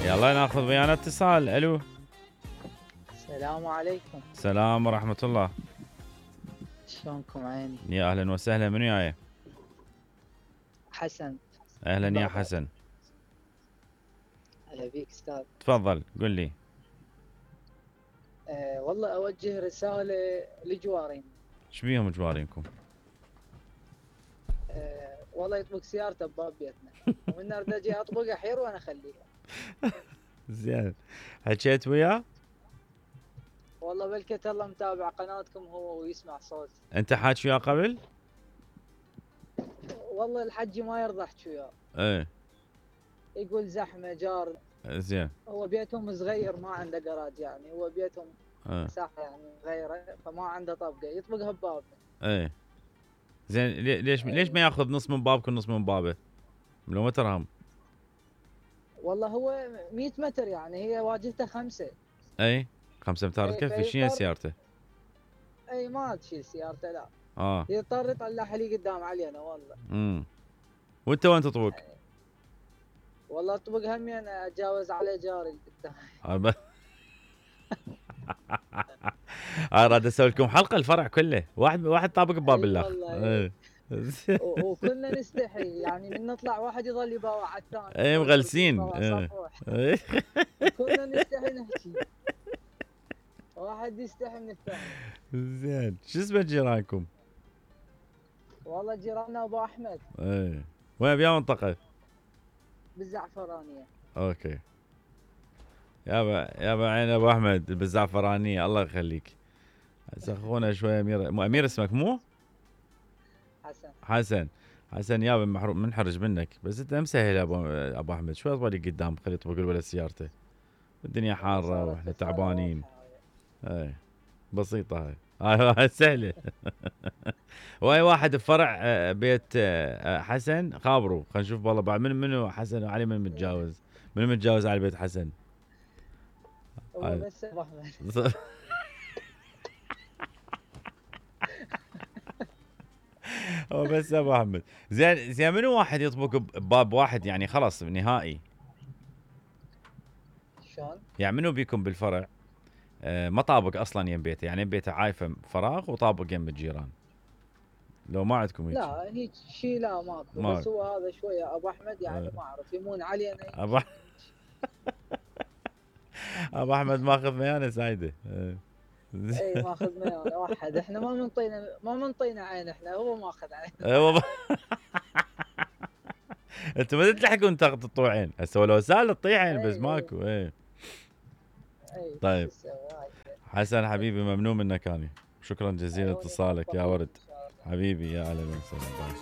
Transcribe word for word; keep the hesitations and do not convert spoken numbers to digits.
يلا ناخذ ويانا اتصال. الو. السلام عليكم. السلام ورحمة الله. شلونكم عيني؟ يا اهلا وسهلا، منو وياي؟ حسن. اهلا يا حسن. هلا بيك استاذ. تفضل قل لي. أه والله اوجه رسالة لجوارين. ايش بيهم جوارينكم؟ أه والله يطبق سيارته بباب بيتنا ومن ارد اجي اطبق احير وانا اخليها. زين، حكيت وياه؟ والله بلكت الله متابع قناتكم هو ويسمع صوت. انت حاكي وياه قبل؟ والله الحجي ما يرضى احكي وياه. ايه. يقول زحمه جار. زين. هو بيتهم صغير ما عنده جراج، يعني هو بيتهم اه. مساحه يعني صغيره فما عنده طبقه يطبقها ببابه. ايه. زين ليش ليش ما ياخذ نص من بابك ونص من بابه؟ لو ما ترهم. والله هو مية متر يعني هي واجهته خمسه. اي خمسة امتار اي تكفي. شنو سيارته؟ اي ما تشيل سيارته لا. اه يضطر يطلعها لي قدام علينا والله. امم وانت وين تطبق؟ يعني والله اطبق همي انا اتجاوز على جاري اللي قدامي. اراد اراد اسوي لكم حلقه الفرع كله واحد واحد طابق بباب الاخ. والله وكلنا نستحي يعني من نطلع واحد يظل يباوع على الثاني. اي مغلسين. كلنا نستحي نحكي. واحد يستحي من الثاني. زين شو اسمه جيرانكم؟ والله جيراننا ابو احمد. ايه وين بيا منطقه؟ بالزعفرانيه. اوكي. يابا يابا عين ابو احمد بالزعفرانيه الله يخليك. اخونا شويه امير. مو امير اسمك مو؟ حسن. حسن. حسن يابا محروم منحرج منك، بس انت مسهل ابو ابو احمد شوي اطولي قدام خليه يطبق الولد سيارته. الدنيا حاره واحنا تعبانين. اي بسيطه هاي هاي سهله. واي واحد بفرع بيت حسن خابروا خلينا نشوف والله بعد من منو حسن وعلي من متجاوز. من متجاوز على بيت حسن؟ هو بس ابو احمد. هو بس ابو احمد. زين زين منو واحد يطبق بباب واحد يعني خلاص نهائي؟ شلون؟ يعني منو بيكم بالفرع آه ما طابق اصلا يم بيته، يعني بيته عايفه فراغ وطابق يم الجيران؟ لو ما عندكم هيك؟ لا هيك شيء لا ماكو ما. بس هو هذا شويه ابو احمد يعني ما اعرف يمون علينا. ابو ابو احمد ماخذ ميانه سايده. اي ماخذ ميانه واحد. احنا ما منطينا ما منطينا عين، احنا هو ماخذ عين. ايوه انتم ما تلحقون تقطعوا عين هسه لو سال تطيح عين بس ماكو. اي طيب حسن حبيبي ممنون منك انا. شكرا جزيلا اتصالك يا ورد حبيبي. يا اهلا وسهلا.